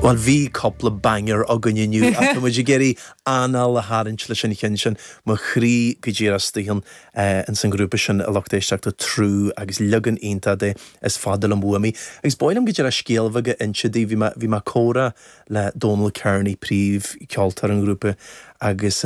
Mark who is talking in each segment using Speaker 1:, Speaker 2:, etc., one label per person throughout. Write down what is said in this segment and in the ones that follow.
Speaker 1: Bhuel, bhí cúpla banger againn inniu ach tá muid ag iarraidh anáil a tharraingt leis an cheann sin. Mo chroí go díreach istigh ins an ghrúpa sin, a lucht éisteachta, Trú agus leagan iontach de Is Fada Liom Uaim Í. Agus ba mhaith liom go díreach scéal bheag a inse daoibh. Bhí mé, bhí mé ag comhrá le Dónal Kearney, príomhcheoltóir an ghrúpa, agus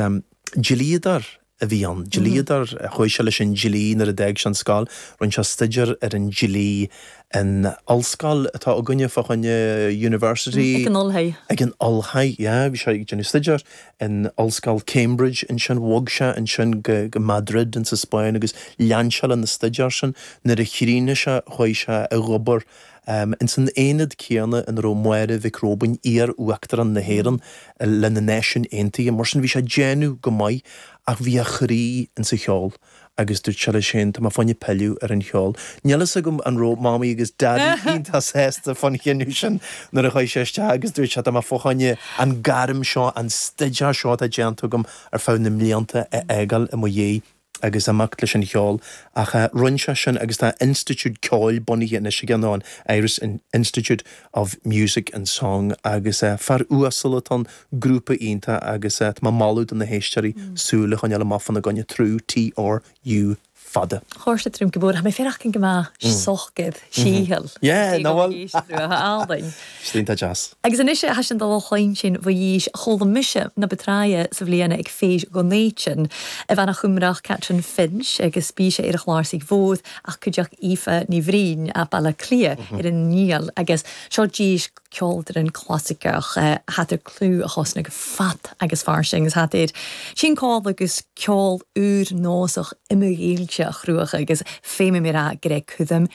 Speaker 1: dlíodóir a bhí ann. Dlíodóir, chuaigh sé leis an dlí nuair a d'fhág sé an scoil. Rinne sé staidéar ar an dlí in ollscoil atá againne fá choinne University.
Speaker 2: Ag an Olthaigh.
Speaker 1: Ag an Olthaigh, yeah. Bhí sé ag déanamh staidéar in Ollscoil Cambridge ansin. Bhog sé ansin go go Madrid insa Spáinn agus lean sé lena staidéar sin. Nuair a chríochnaigh sé chuaigh sé ag obair Ins an aonad céanna ina raibh Máire Mhic Róibín, iar-Uachtarán na hÉireann, le na Náisiúin Aontaithe. Mar sin bhí sé ag déanamh go maith ach bhí a chroí ins an cheol agus dúirt sé leis féin, tá mé fá choinne pilleadh ar an cheol. Níl fhios agam an raibh Mamaí agus Daidí iontach sásta fán chinneadh sin nuair a chuaigh sé isteach agus dúirt sé, tá mé fá choinne an gairm seo, an staidéar seo atá déanta agam ar feadh na mblianta a fhágáil i mo dhiaidh. agus imeacht leis an cheol ach rinne sé sin agus tá institiúid ceoil bunaithe anois aige nó an Irish Institute of Music and Song agus fear uasal atá ann, grúpa iontach agus tá mé ag moladh do na héisteoirí súil a choinneáil amach fána gcoinne, Trú, T-R-U fada.
Speaker 2: Chóir trúm go bór, Tha mi faireachdan gu math sogaid sìcheall.
Speaker 1: Yeah, ná bhfuil?
Speaker 2: Álainn.
Speaker 1: Sin iontach deas.
Speaker 2: Agus anois tha sinn dol a chluinstin fa dhís chuala mise na ba tráighe sa bhliain ag Fèis Dhonn Éideann, a bhean a Chumrach Catrin Finch agus bí sé ar a chláirsigh mhór ach cuideachd Aoife Ní Bhriain a' Baile Átha Cliath ar an nGiall agus seo dís ceoldaran clasaiceach hat ar clú a chosna go fat agus fairsing agus hat ar sin cáil agus ceol úr nósach iomghaoilte a chruach agus féimidh mé rá gur é cuidhim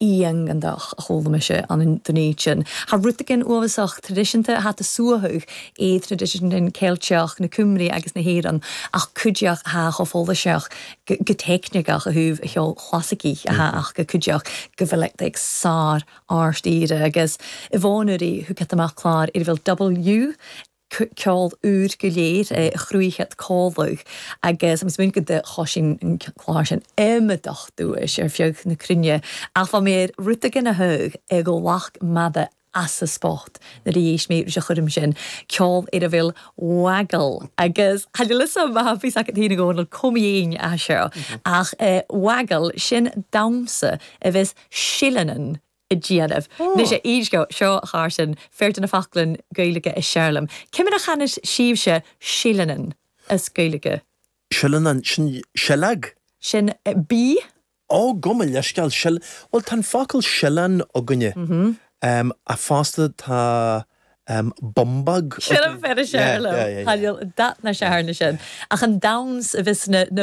Speaker 2: iongantach a chuala mise an Dún Éideann. Tha rud éigin uathbhasach traidisiúnta atá ag suaitheadh é traidisiún Ceilteach na Cymru agus na hÉireann ach cuideachd atá chomh follasach go teicniceach a thaobh a cheoil chlasaicigh atá ach go cuideachd go bhfuil ag sár ard-aoire agus i bhfónóirí thug siad amach clár ar a bhfuil W ceol úr go léir, chruaidhead cóladh agus tá mé smaoineamh go do choisín an clár sin iomadach duais ar feadh na cruinne ach bha mé ar rud éigin a thug ag ghlac mada as a spot nuair a d'éist mé ris a chuirim sin ceol ar a bhfuil waggle agus tha níl fhios a'm má bhí agat féin a Dhónaill com dhéin é seo ach waggle sin damhsa a bheas sileannan a déanamh. Anois a éist seo a Charson, fear de na foclainn Gaeilge is Searlaim. Ciamar a channas sibhse sileannan as Gaeilge?
Speaker 1: Sileannan, sin sileag?
Speaker 2: Sin B.
Speaker 1: Ó, gabh mo leithscéal, sil, bhuel tá an focal sileán againne, ach fosta tá bumbag
Speaker 2: Sin an fear is Searlaim. Tá dath na searna sin. Ach an damhsa a bhí sna.